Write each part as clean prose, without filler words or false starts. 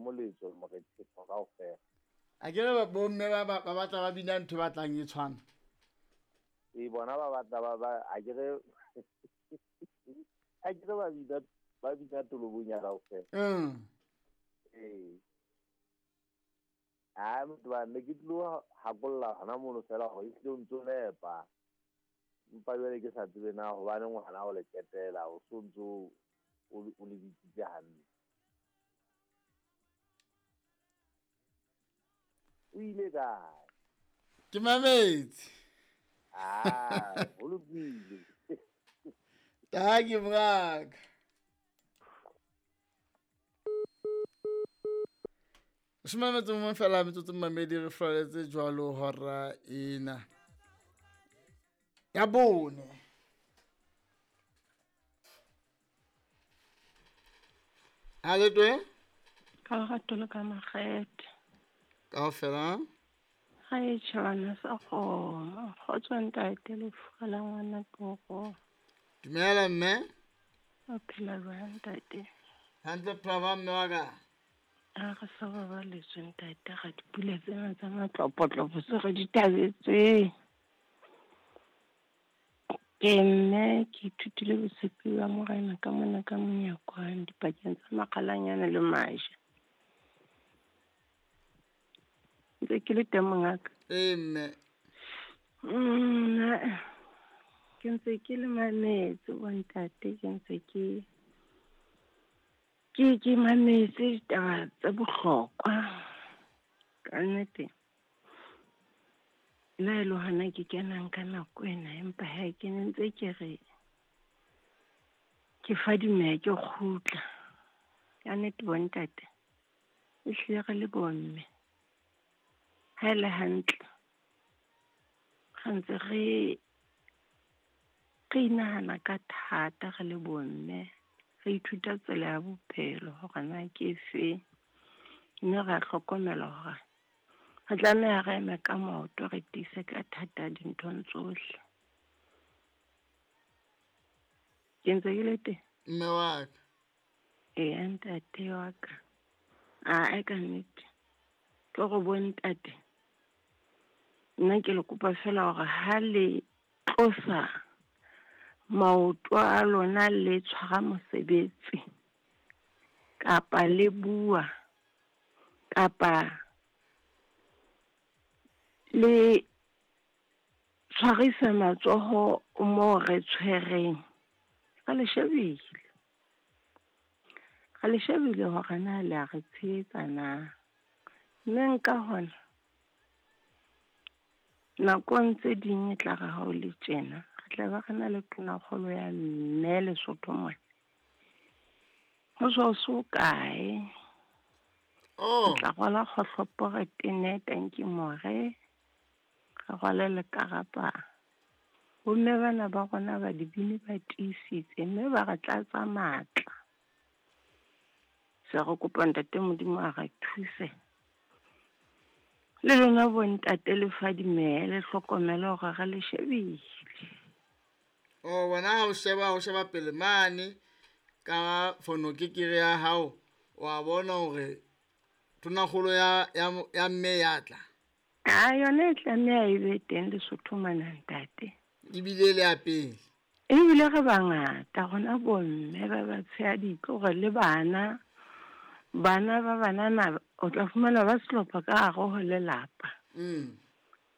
moletso morethetho kaofela. A ke re bomme ba ba batla ba bina ntho e batlang e tshwana. E bona ba batla ba ba a ke re a ke re ba bina tolobong ya kaofela. Ee. A motho ba ne ke tlo hakolla hona mono fela hore ehlile o ntso nepa. Empa jwale ke sa tsebe na hobane ngwana o le ketela o so ntso o le bitsitse hantle. O ile kae? Ke mametse. Ah, ho lokile. Tanki mongaka. 15 fela metsotso mamedi re floretse jwalo hora ena ya bone. A le twe? Ka lerato le ka makgethe. Kaofela? Ha e tjhabana sa kgomo. Kgotso ntate lefufa la ngwana toro. Dumela mme. O phela jwang ntate? Hantle phela mme wa ka. A re sa babaletswe ntate ga dipula tsena tsa matlopotlopo se re di thabetseng. Ke mme ke ithutile botshepi ba morena ka mona ka monyakwane dipakeng tsa makgalanyana le maja. Ntse ke le teng mongaka. Ee mme. Ke ntse ke le mametse bontate, ke ntse ke ke mametse ditaba tse bohlokwa. Ka nnete nna e le hona ke kenang ka nako ena, empa ha ke ne ntse ke re ke fadimeha ke kgutla. Ka nnete bontate, ehlile re le bomme ha e le hantle re ntse re inahana ka thata re le bomme. Re ithuta tsela ya bophelo hore na ke efe, mme ra hlokomela hore re tlameha re eme ka maoto, re tiise ka thata dinthong tsohle. Ke ntse ke le teng? Mme wa ka. Eya ntate wa ka. Ae ka nnete. Ke hore bontate, nna ke le kopa fela hore ha le tlosa maoto a lona le tshwara mosebetsi kapa le bua kapa le tshwarisa matsoho mo re tshwereng, re le shebile. Re le shebile hore na le a re tshehetsa na. Mme nka hona nakong tse ding e tla re ha o le tjena, re tla ba re na le tonakgolo ya mme Lesotho mona. Ho so so kae? Oh. Re tla rwala kgohlopo re tene tanki more, re rwale le karapa. Bomme bana ba rona ba dibini ba tiisitse mme ba re tlatsa matla. Se re kopa ntate Modimo a re thuse. Le lona bontate le fadimehe, le hlokomele hore re le shebile. Oh, wena ha o sheba pele mane ka fono kekere ya hao, wa bona hore tonakgolo ya mme ya tla. A yona e tlameha e be teng Lesotho mona ntate. Ebile le ya pele. Ebile re bangata rona bomme ba ba tshehadi hore le bana bana ba banana o tla fumana ba sehlopha ka hare ho lelapa.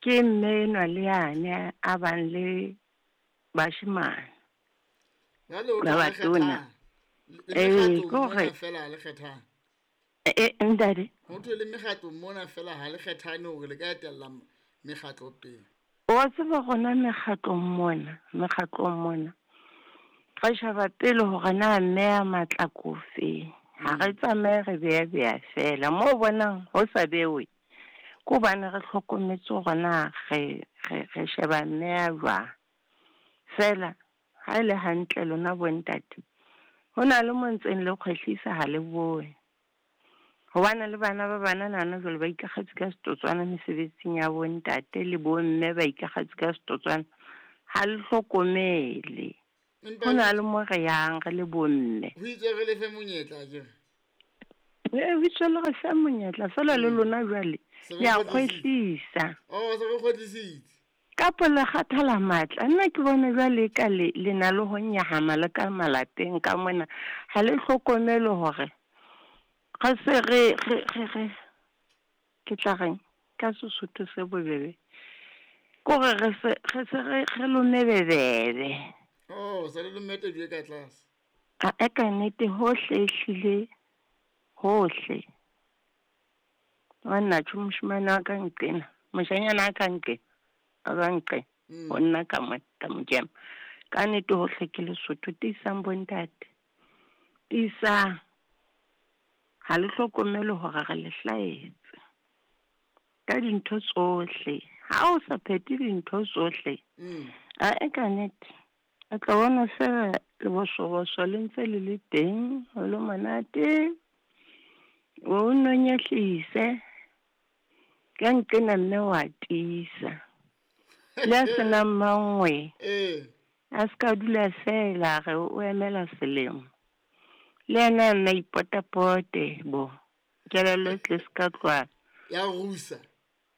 Ke mme enwa le yane a bang le bashemane. Ba batona. Ee, ke hore fela le kgethang. Ntate. Ho thwe le mekgatlo mona fela ha le kgethane hore le ka etella mekgatlo pele. Wa tseba rona mekgatlong mona. Re sheba pele hore na mme ya matla kofe. Ha re tsamaye re beya fela. Mo bonang ho sa bewe, ke hobane re hlokometse hore na re sheba mme ya jwang. Fela ha e le hantle lona bontate, ho na le mo ntseng le kgwehlisa ha le bone. Hobane le bana ba banana hona jwale ba ikakgetse ka setotswana mesebetsing ya bontate le bomme ba ikakgetse ka setotswana. Ha le hlokomele. Ho na le mo re yang re le bomme. Ho itse re lefe monyetla akere? E bitso le re fe monyetla fela le lona jwale Se le a re kgwetlisitse. kgwehlisa. Oh, se re kgwetlisitse. Kapo le kgathala matla. Nna ke bona jwale ka le le na le ho nyahama le ka malapeng ka mona. Ha le hlokomele hore re se re re re re ke tla reng ka Sesotho se bobebe. Kore re se re se re re lome bebebe. Oh, se le lomme tedu e ka tlase. A e ka nnete hohle ehlile hohle. Wa nna tjho moshemane wa ka nqena, moshanyana wa ka nqena, a ka nqena. Ho nna ka mo ka mokema. Ka nnete hohle ke Lesotho tiisang bontate. Tiisang. Ha le hlokomele hore re le hlahetse. Ka dintho tsohle. Ha o sa phethe dintho tsohle. A e ka nnete. O tla bona fela lebosoboso le ntse le le teng, ho le monate. O nonyehlise. Ka nqena mme wa tiisa. Le a senang mangwe. A ska dula fela re o emela selemo. Le yena a nna ipotapote bo. Kelello e tle se ka tloha. Ya rusa.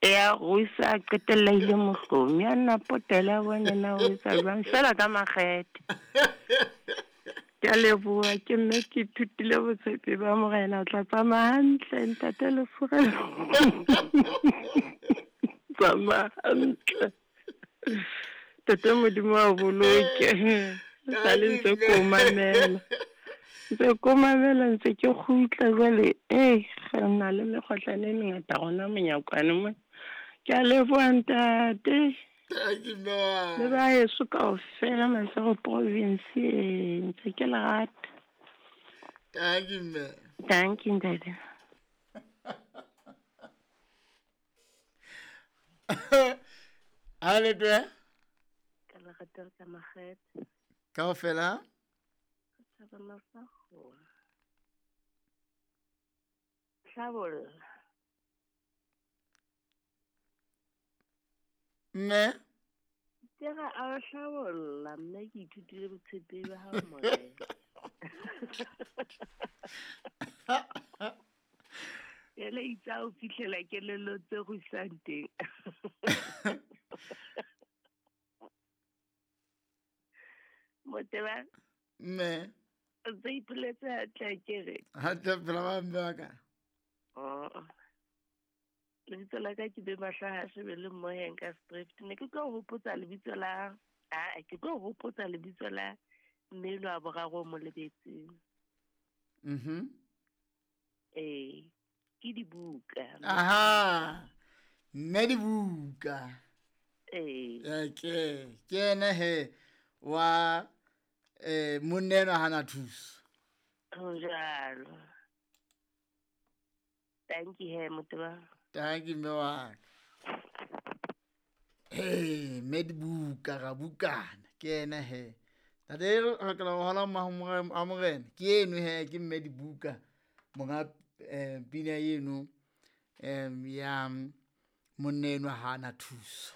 Ya rusa a qetella ile mohlomi. A nna potela a bone na o etsa jwang fela ka makgethe. Ke a leboha ke mme ke ithutile botshepi ba Morena o tla tsamaya hantle ntate Lefurelo. Tsamaya hantle. Ntate Modimo a o boloke. Sale ntse ko mamela. Ntse ko mamela ntse ke kgutla jwale eh re na le mekgohlane e mengata rona monyakwane mona. Ke a leboha ntate. Thank you, mme wa. Le ba heso kaofela Maseru province e ntse ke le rata. Thank you, mme. Thank you ntate. Ha le twe? Ka le rata ka makgethe. Kaofela? Thaba mafago. Hlabolla. Mme? Ke ga a hlabolla mme ke ithutile botshepehi ba hao Morena. Ele itse ha o fihlela kelello tse rusang teng. Moteba? Mme? O ntse ipoletse hantle akere? Hantle phela ba mme wa ka. Oh. Lebitso la ka ke be Mahlaha Shebele Mmoheng ka Street. Ne ke tlo hopotsa lebitso la a ke tlo hopotsa lebitso la mme enwa wa boraro o mo lebetseng. Eh, ke dibuka. Aha. Mme dibuka. Eh. Okay, ke ena he wa monna enwa hana thuso. Ho jwalo. Thank you he Moteba. Thank you mme wa ka. Hey, mme dibuka ra bukana ke ena he. Tate re lokela ho hola a Morena. Ke eno he ke mme dibuka monga pina eno ya monna enwa hana thuso.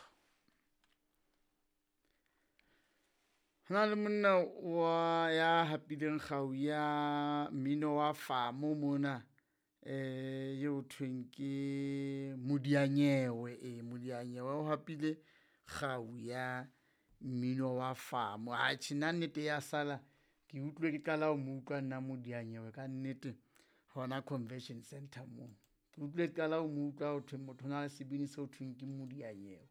Hona le monna wa ya hapileng kgau ya mmino wa famo mona eo thweng ke Modianyewe. Modianyewe o hapile kgau ya mmino wa famo. Atjhe nna nnete ya sala ke utlwe ke qala ho mo utlwa nna Modianyewe ka nnete hona convention center moo. Ke utlwe ke qala ho mo utlwa ho thwe motho o na le sebini seo thweng ke Modianyewe.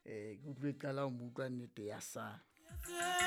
Ke utlwe ke qala ho mo utlwa nnete ya sala.